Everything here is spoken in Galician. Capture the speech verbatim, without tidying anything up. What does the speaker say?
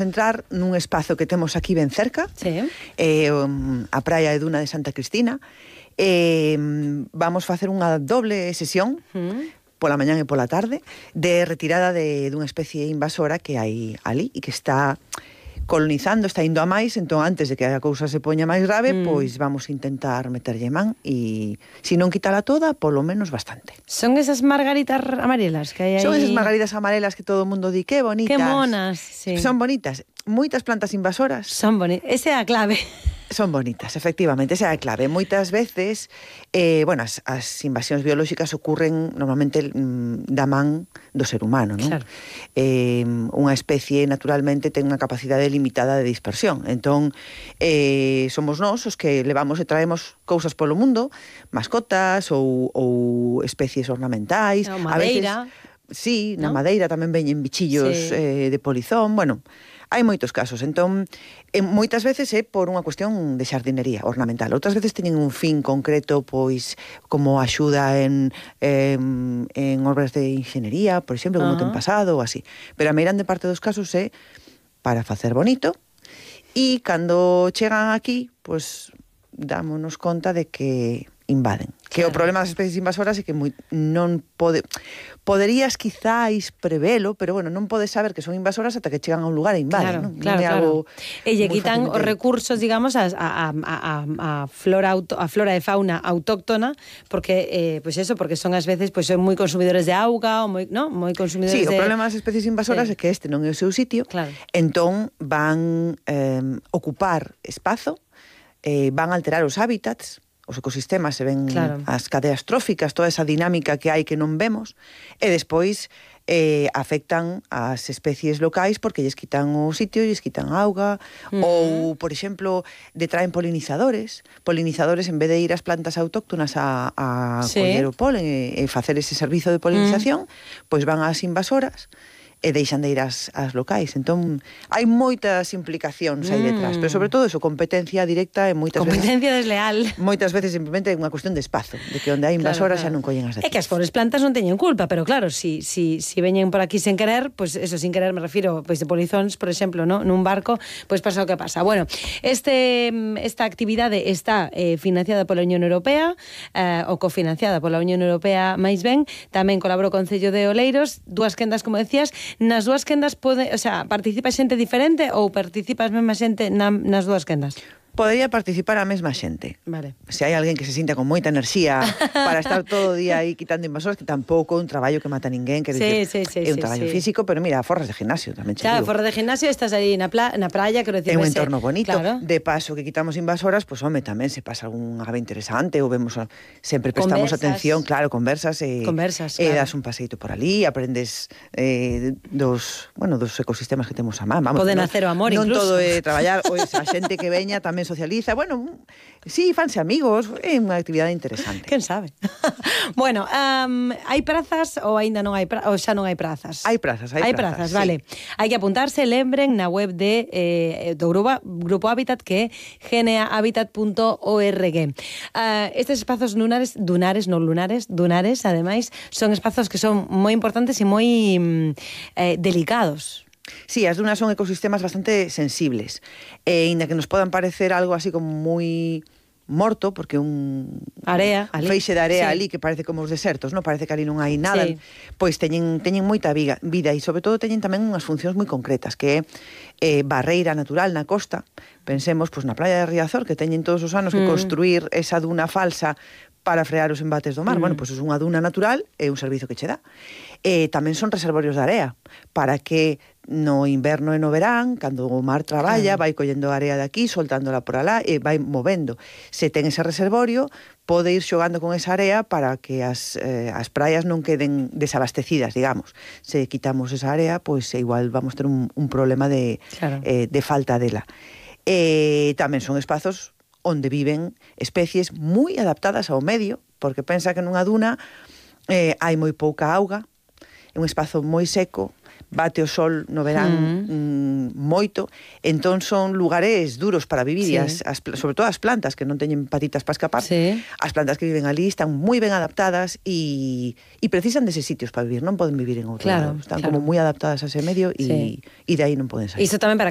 entrar nun espazo que temos aquí ben cerca, sí. eh, a praia de Duna de Santa Cristina. Eh, vamos facer unha doble sesión, mm. pola mañán e pola tarde, de retirada de dunha especie invasora que hai ali e que está colonizando, está indo a máis. Entón, antes de que a cousa se poña máis grave, mm. pois vamos a intentar meterlle man e, se non quitala toda, polo menos bastante. Son esas margaritas amarelas que hai aí? Son esas margaritas amarelas que todo o mundo di que bonitas. Que monas, sí. Son bonitas. Moitas plantas invasoras. Son bonitas. Esa é a clave. Son bonitas, efectivamente, esa é a clave. Moitas veces, eh, bueno, as, as invasións biolóxicas ocurren normalmente mm, da man do ser humano, non? Claro. Eh, unha especie, naturalmente, ten unha capacidade limitada de dispersión. Entón, eh, somos nós os que levamos e traemos cousas polo mundo, mascotas ou, ou especies ornamentais. No, madeira. A veces, sí, na ¿no? madeira tamén veñen bichillos sí. eh, de polizón, bueno... Hai moitos casos, entón, eh, moitas veces é por unha cuestión de xardinería ornamental. Outras veces teñen un fin concreto, pois, como axuda en, eh, en obras de inxeniería, por exemplo, como uh-huh. ten pasado, ou así. Pero a meirande parte dos casos é para facer bonito, e cando chegan aquí, pois, dámonos conta de que invaden. Que claro. O problema das especies invasoras é que moi, non pode... Poderías quizáis prevelo, pero bueno, non podes saber que son invasoras ata que chegan a un lugar e invaden, claro, non? Claro, non é claro. algo E lle quitan os recursos, digamos, a, a, a, a, flora auto, a flora e fauna autóctona, porque, eh, pues eso, porque son ás veces, pues son moi consumidores de auga, ou moi, ¿no? moi consumidores sí, de... Sí, o problema das especies invasoras sí. é que este non é o seu sitio, claro. Entón van eh, ocupar espazo, eh, van alterar os hábitats, os ecosistemas, se ven claro. As cadeas tróficas, toda esa dinámica que hai que non vemos, e despois eh, afectan as especies locais porque lles quitan o sitio, lles quitan auga, uh-huh. ou, por exemplo, detraen polinizadores, polinizadores en vez de ir ás plantas autóctonas a, a sí. coller o polen e, e facer ese servizo de polinización, uh-huh. pois van ás invasoras, e deixan de ir ás, ás locais. Entón, hai moitas implicacións aí detrás, mm. pero sobre todo eso, competencia directa e moitas competencia veces... desleal. Moitas veces simplemente é unha cuestión de espazo, de que onde hai invasoras claro, claro. xa non collen as de aquí. É que as pobres plantas non teñen culpa, pero claro, si, si, si veñen por aquí sen querer, pues eso, sin querer me refiro, pois pues, de polizóns, por exemplo, ¿no? Nun barco, pois pues pasa o que pasa. Bueno, este, esta actividade está eh, financiada pola Unión Europea, eh, ou cofinanciada pola Unión Europea máis ben, tamén colaborou o Concello de Oleiros, dúas quendas, como decías. Nas dúas quendas pode, o sea, participa xente diferente ou participa a mesma xente na, nas dúas quendas? Podería participar a mesma xente. Vale. Se hai alguén que se sinta con moita enerxía para estar todo o día aí quitando invasores, que tampouco é un traballo que mata a ninguén, que sí, decir, sí, sí, é un sí, traballo sí. físico, pero mira, forras de gimnasio tamén che claro, digo. forras de gimnasio, estás aí na, pla, na praia, quero decir, é un ese... entorno bonito, claro. De paso que quitamos invasoras, pois pues, home, tamén se pasa algún ave interesante, ou vemos, sempre prestamos conversas. Atención, claro, conversas, e, conversas, e claro. das un paseito por ali, aprendes eh, dos, bueno, dos ecosistemas que temos a man. Vamos, Poden non, hacer o amor, non incluso. Non todo é traballar, ou esa xente que veña tamén socializa, bueno, sí, fanse amigos, é unha actividade interesante. Quen sabe? Bueno, um, hai prazas ou aínda non hai prazas, ou xa non hai prazas? Hai prazas, hai, hai prazas, prazas, sí. Vale. Hai que apuntarse, lembren, na web de eh, do Grupo, Grupo Hábitat, que é geneahabitat punto org. Uh, estes espazos lunares, dunares, non lunares, dunares, ademais, son espazos que son moi importantes e moi eh, delicados. Sí, as dunas son ecosistemas bastante sensibles, e inda que nos podan parecer algo así como moi morto, porque un area, un feixe de area sí. ali que parece como os desertos, non? Parece que ali non hai nada, sí. Pois teñen, teñen moita viga, vida e sobre todo teñen tamén unhas funcións moi concretas, que é eh, barreira natural na costa. Pensemos pois, na playa de Riazor, que teñen todos os anos que mm. construir esa duna falsa para frear os embates do mar. Mm. Bueno, pois é unha duna natural e un servizo que che dá. E tamén son reservorios de area, para que no inverno e no verán, cando o mar traballa, claro. Vai collendo a area de aquí, soltándola por alá e vai movendo. Se ten ese reservorio, pode ir xogando con esa area para que as, eh, as praias non queden desabastecidas, digamos. Se quitamos esa area, pois igual vamos ter un, un problema de, claro. eh, de falta dela. E tamén son espazos onde viven especies moi adaptadas ao medio, porque pensa que nunha duna eh, hai moi pouca auga, é un espazo moi seco, bate o sol no verán mm. Mm, moito, entón son lugares duros para vivir, sí. e as, as, sobre todo as plantas que non teñen patitas para escapar, sí. as plantas que viven ali están moi ben adaptadas e, e precisan deses sitios para vivir, non poden vivir en outro claro, lado, están claro. como moi adaptadas a ese medio e, sí. e de aí non poden sair. Iso tamén para